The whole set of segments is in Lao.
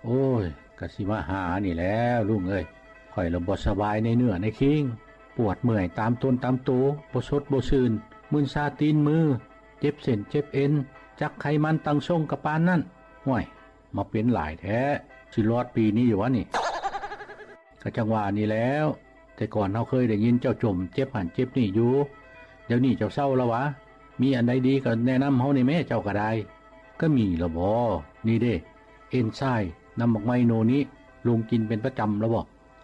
ໂອ້ຍ ກະຊິມາຫານີ້ແຫຼ້ວລຸງເອີຍ. ຂ້ອຍລະບໍ່ສະບາຍໃນເນື້ອໃນຄີງ, ປວດເມື່ອຍຕາມຕົນຕາມໂຕ, ບໍ່ສົດບໍ່ຊື່ນ, ມຶນຊາຕີນມື, ເຈັບເສັ້ນເຈັບເອັນ, ຈັກໄຂມັນຕັ້ງຊົງກະປານນັ້ນ. ຫ້ວຍ ມາເປັນຫຼາຍແທ້, ຊິລອດປີນີ້ຢູ່ຫວານີ້? ກະຈັ່ງວ່ານີ້ແຫຼ້ວ, ແຕ່ກ່ອນເຮົາເຄີຍໄດ້ຍິນເຈົ້າຈົ່ມເຈັບຫັ້ນເຈັບນີ້ຢູ່, ດຽວນີ້ເຈົ້າເຊົາລະຫວາ? ມີອັນໃດດີກະແນະນຳເຮົາແດ່ແມ້, ເຈົ້າກະໄດ້. ກະມີລະບໍ? ນີ້ເດ້ ເອັນໄຊນ້ຳໝາກໄມ້ໂນນິ, ລຸງກິນເປັນປະຈຳລະບໍ?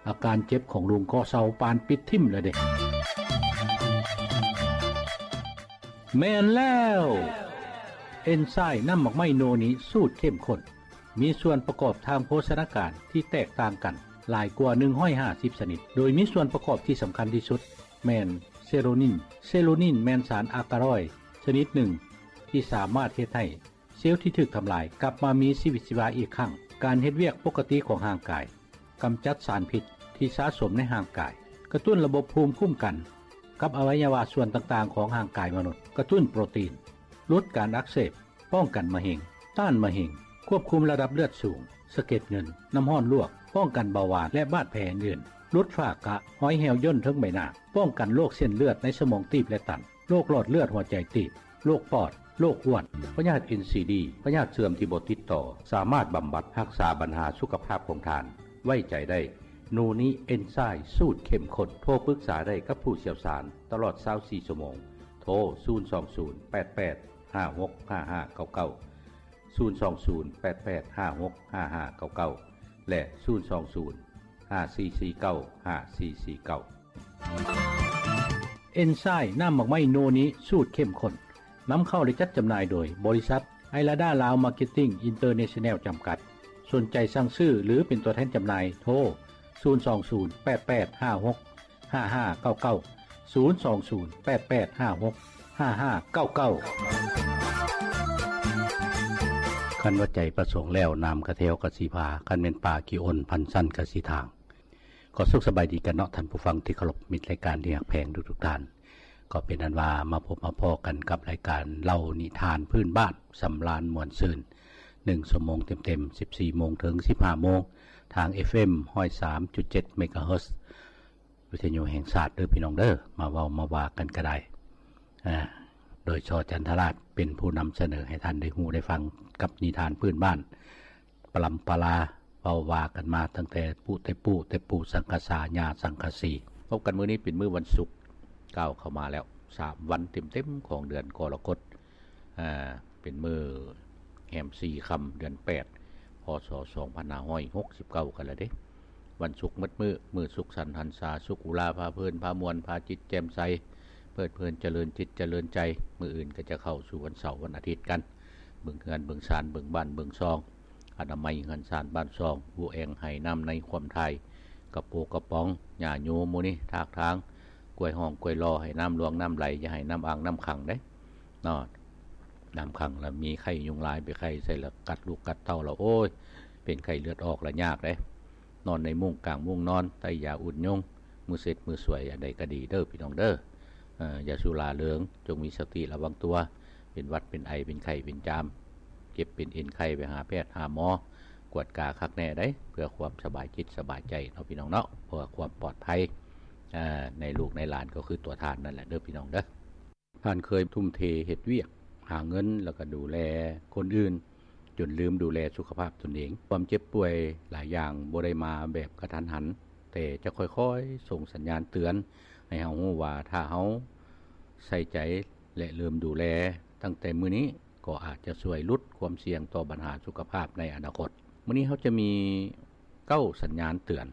ອາການເຈັບຂອງລຸງກໍເຊົາປານປິດຖິ້ມລະເດ້. ແມ່ນແລ້ວ! ເອັນໄຊນ້ຳໝາກໄມ້ໂນນິສູດເຂັ້ມຂຸ້ນ ມີສ່ວນປະກອບທາງໂພຊະນາການທີ່ແຕກຕ່າງກັນຫຼາຍກວ່າໜຶ່ງຮ້ອຍຫ້າສິບຊະນິດ, ໂດຍມີສ່ວນປະກອບທີ່ສຳຄັນທີ່ສຸດແມ່ນເຊໂຣນິນ. ເຊໂຣນິນແມ່ນສານອາກາຣອຍຊະນິດໜຶ່ງທີ່ສາມາດເຮັດໃຫ້ ເຊວທີ່ຖືກທຳລາຍກັບມາມີຊີວິດຊີວາອີກຄັ້ງ. ການເຮັດວຽກປົກກະຕິຂອງຮ່າງກາຍ, ກຳຈັດສານພິດທີ່ສະສົມໃນຮ່າງກາຍ, ກະຕຸ້ນລະບົບພູມຄຸ້ມກັນກັບອະໄວຍະວະສ່ວນຕ່າງໆຂອງຮ່າງກາຍມະນຸດ, ກະຕຸ້ນໂປຣຕີນ, ຫຼຸດການອັກເສບ, ປ້ອງກັນມະເຮັງ, ຕ້ານມະເຮັງ, ຄວບຄຸມລະດັບເລືອດສູງ, ສະເກັດເງິນ, ນ້ຳຮ້ອນລວກ, ປ້ອງກັນເບົາຫວານ ແລະ ບາດແຜອື່ນໆ, ຫຼຸດຝ້າກະ, ຮອຍແຫ້ວຍ່ນເທິງໃບໜ້າ, ປ້ອງກັນໂລກເສັ້ນເລືອດໃນສະໝອງຕີບ ແລະ ຕັນ. ໂລກຫຼອດເລືອດຫົວໃຈຕີບ, ໂລກປອດ, ໂລກອ້ວນ, ພະຍາດເອັນຊີດີ, ພະຍາດເສື່ອມທີ່ບໍ່ຕິດຕໍ່, ສາມາດບຳບັດຮັກສາບັນຫາສຸຂະພາບຂອງທ່ານ. ໄວ້ໃຈໄດ້ ໂນນິເອັນໄຊສູດເຂັ້ມຂຸ້ນ. ໂທປຶກສາໄດ້ກັບຜູ້ຊ່ຽວຊານຕະຫຼອດຊາວສີ່ຊົ່ວໂມງ. ໂທ ສູນສອງສູນ ແປດແປດ ຫ້າຫົກ ຫ້າຫ້າເກົ້າເກົ້າ, ສູນສອງສູນ ແປດແປດ ຫ້າຫົກ ຫ້າຫ້າເກົ້າເກົ້າ ແລະ ສູນສອງສູນ ຫ້າສີ່ສີ່ເກົ້າ ຫ້າສີ່ສີ່ເກົ້າ. ເອັນໄຊນ້ຳໝາກໄມ້ໂນນິສູດເຂັ້ມຂຸ້ນ ນຳເຂົ້າ ແລະ ຈັດຈຳໜ່າຍໂດຍບໍລິສັດ ໄອລາດາລາວມາເກັດຕິ້ງອິນເຕີເນຊັນແນວ ຈຳກັດ. ສົນໃຈສັ່ງຊື້ ຫຼື ເປັນຕົວແທນຈຳໜ່າຍ ໂທ ສູນສອງສູນ ແປດແປດ ຫ້າຫົກ ຫ້າຫ້າເກົ້າເກົ້າ, ສູນສອງສູນ ແປດແປດ ຫ້າຫົກ ຫ້າຫ້າເກົ້າເກົ້າ. ຄັນວ່າໃຈປະສົງແລ້ວ ນ້ຳກະແຖວກະຊິພາ, ຄັນແມ່ນປ່າຂີ້ອົນ ພັນຊັ້ນກະຊິທາງ. ກໍສຸກສະບາຍດີກັນເນາະ ທ່ານຜູ້ຟັງທີ່ເຄົາລົບ, ມິດລາຍການທີ່ຮັກແພງທຸກໆທ່ານ. ກໍເປັນອັນວ່າມາພົບມາພໍ້ກັນກັບລາຍການເລົ່ານິທານພື້ນບ້ານ ສຳລານມ່ວນຊື່ນ ໜຶ່ງຊົ່ວໂມງເຕັມໆ ສິບສີ່ໂມງເຖິງສິບຫ້າໂມງ ທາງ ເອັຟເອັມ ຮ້ອຍສາມຈຸດເຈັດ ເມກາເຮີດ ວິທະຍຸແຫ່ງຊາດເດີພີ່ນ້ອງເດີ. ມາເວົ້າມາວ່າກັນກະໄດ້ ອາ ໂດຍ ຊ ຈັນທະລາດ ເປັນຜູ້ນຳສະເໜີໃຫ້ທ່ານໄດ້ຮູ້ໄດ້ຟັງກັບນິທານພື້ນບ້ານ ປະລຳປະລາ ເວົ້າວ່າກັນມາຕັ້ງແຕ່ປູ່ແຕ່ປູ່ ແຕ່ປູ່ສັງກະສາ ຍ່າສັງກະສີ. ພົບກັນມື້ນີ້ເປັນມື້ວັນສຸກ ກ້າວເຂົ້າມາແລ້ວ ສາມວັນເຕັມໆຂອງເດືອນກໍລະກົດ ອາ ເປັນມື້ແຮມສີ່ຄ່ຳເດືອນແປດ ພ.ສ. ສອງພັນຫ້າຮ້ອຍຫົກສິບເກົ້າກັນລະເດ້. ວັນສຸກໝົດມື້ ມື້ສຸກສັນຫັນສາ ສຸກອຸລາ ພາເພີນ ພາມ່ວນ ພາຈິດແຈ່ມໃສ ເພີດເພີນ ຈະເລີນຈິດຈະເລີນໃຈ. ມື້ອື່ນກໍຈະເຂົ້າສູ່ວັນເສົາ ວັນອາທິດກັນ ເບິ່ງເຮືອນເບິ່ງຊານ ເບິ່ງບ້ານເບິ່ງຊ່ອງ ອະນາໄມເຮືອນຊານບ້ານຊ່ອງ ອູແອງໄຮ່ນ້ຳໃນຄວາມຖ່າຍ ກະໂປກະປ໋ອງ ຫຍ້າໂຍໝູ່ນີ້ ຖາກທາງ ກວຍຮ່ອງກວຍລໍ ໃຫ້ນ້ຳຫຼວງນ້ຳໄຫຼ ຢ່າໃຫ້ນ້ຳອ່າງນ້ຳຂັງເດ້ເນາະ. ນ້ຳຂັງລະມີໄຂ້ຍຸງລາຍ ໄປໄຂ້ໃສ່ລະກັດລູກກັດເຕົ້າລະ ໂອ້ຍ ເປັນໄຂ້ເລືອດອອກລະຍາກເດ້. ນອນໃນມຸ້ງກາງມຸ້ງນອນ ໃຕ້ຢາອຸດຍຸງ ມືເຊັດມືສວຍ ອັນໃດກະດີເດີພີ່ນ້ອງເດີ. ເອີ ຢ່າສຸລາເລີງ ຈົ່ງມີສະຕິລະວັງຕົວ ເປັນຫວັດເປັນໄອ ເປັນໄຂ້ເປັນຈາມ ເຈັບເປັນເອັນໄຂ້ ໄປຫາແພດຫາໝໍ ກວດກາຄັກແນ່ໄດ໋ ເພື່ອຄວາມສະບາຍຈິດສະບາຍໃຈເນາະພີ່ນ້ອງເນາະ ເພື່ອຄວາມປອດໄພ ອາ ໃນລູກໃນຫຼານ ກໍຄືຕົວທ່ານນັ້ນແຫຼະເດີພີ່ນ້ອງເດີ. ທ່ານເຄີຍທຸ່ມເທເຮັດວຽກຫາເງິນ ແລ້ວກໍດູແລຄົນອື່ນ ຈົນລືມດູແລສຸຂະພາບຕົນເອງ. ຄວາມເຈັບປ່ວຍຫຼາຍຢ່າງບໍ່ໄດ້ມາແບບກະທັນຫັນ, ແຕ່ຈະຄ່ອຍໆສົ່ງສັນຍານເຕືອນໃຫ້ເຮົາຮູ້ວ່າ ຖ້າເຮົາໃສ່ໃຈ ແລະ ເລີ່ມດູແລຕັ້ງແຕ່ມື້ນີ້ ກໍອາດຈະຊ່ວຍຫຼຸດຄວາມສ່ຽງຕໍ່ບັນຫາສຸຂະພາບໃນອະນາຄົດ. ມື້ນີ້ເຮົາຈະມີເກົ້າສັນຍານເຕືອນ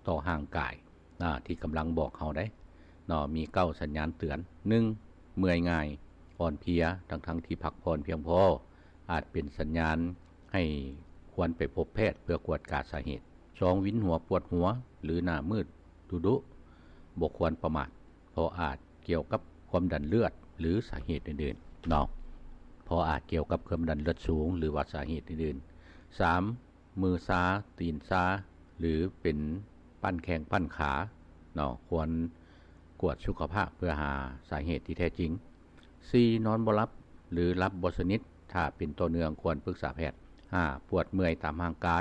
ຕໍ່ຮ່າງກາຍ ອາ ທີ່ກຳລັງບອກເຮົາໄດ໋ເນາະ. ມີເກົ້າສັນຍານເຕືອນ. ໜຶ່ງ ເມື່ອຍງ່າຍ, ອ່ອນເພຍ ທັງໆທີ່ພັກຜ່ອນພຽງພໍ ອາດເປັນສັນຍານໃຫ້ຄວນໄປພົບແພດເພື່ອກວດກາສາເຫດ. ສອງ ວິນຫົວປວດຫົວ ຫຼື ໜ້າມືດດຸໆ ບໍ່ຄວນປະໝາດ ເພາະອາດກ່ຽວກັບຄວາມດັນເລືອດ ຫຼື ສາເຫດອື່ນໆເນາະ ເພາະອາດກ່ຽວກັບຄວາມດັນເລືອດສູງ ຫຼືວ່າສາເຫດອື່ນໆ. ສາມ ມືຊາ ຕີນຊາ ຫຼື ເປັນປັ້ນແຂ້ງປັ້ນຂາເນາະ ຄວນກວດສຸຂະພາບເພື່ອຫາສາເຫດທີ່ແທ້ຈິງ. ສີ່ ນອນບໍ່ຫຼັບ ຫຼື ຫຼັບບໍ່ສະໜິດ ຖ້າເປັນຕໍ່ເນື່ອງຄວນປຶກສາແພດ. ຫ້າ ປວດເມື່ອຍຕາມຮ່າງກາ